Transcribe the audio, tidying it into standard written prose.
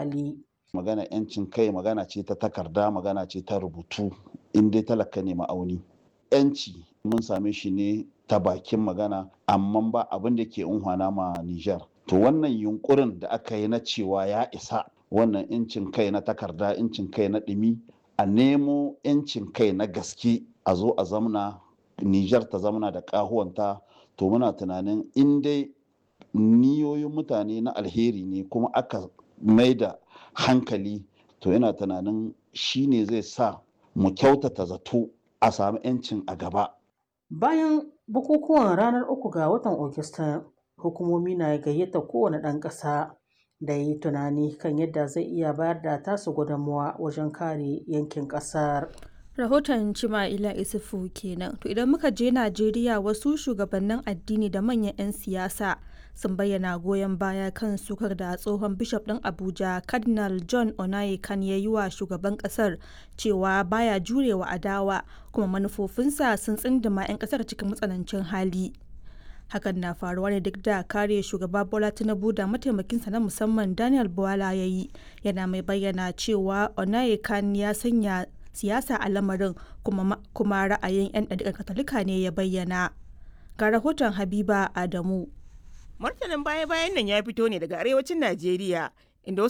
hali. Magana 'yancin kai magana ce ta takarda, magana ce ta rubutu, in dai talaka ne ma'auni. 'Yanci mun same shi ne ta bakin magana, amma ba abin da ke unhwana ma Nijar. To wannan yunkurin da aka yi na cewa ya isa wannan 'yancin kai na takarda, 'yancin kai na ɗumi, a nemo 'yancin kai na gaske, a zo a zamna Nijar ta zamna da ƙahuwanta. To muna tunanin in dai niyoyin mutane na alheri ne kuma aka maida hankali, to ina tunanin shi ne zai sa mu kyautata zato a sami 'yancin a gaba. Bayan bukukuwan ranar 3 ga watan Agusta, hukumomi na gayyatar kowane ɗan ƙasa da ya yi tunani kan yadda zai iya bayar da tasu gudunmawa wajen kare yankin ƙasar. Rahoton Chima'ila Isufu kenan. To idan muka je Najeriya, wasu shugabannin addini da manyan 'yan siyasa sun bayyana goyon baya kan sukar da tsohon bishop ɗin Abuja Cardinal John Onayekan ya yi wa shugaban ƙasar cewa baya jurewa adawa kuma manufofinsa sun tsindima 'yan ƙasar cikin matsanancin hali. Hakan na faruwa ne duk da kare shugaba Bola Tinubu da mataimakinsa na musamman Daniel Bwala ya yi, yana mai bayyana cewa Onayekan ya sanya siyasa a lamarin kuma ra'ayin 'yan ɗariƙar Katolika ne ya bayyana. Ga rahoton Habiba Adamu. Martanin baya-bayan nan ya fito ne daga arewacin Najeriya, inda wasu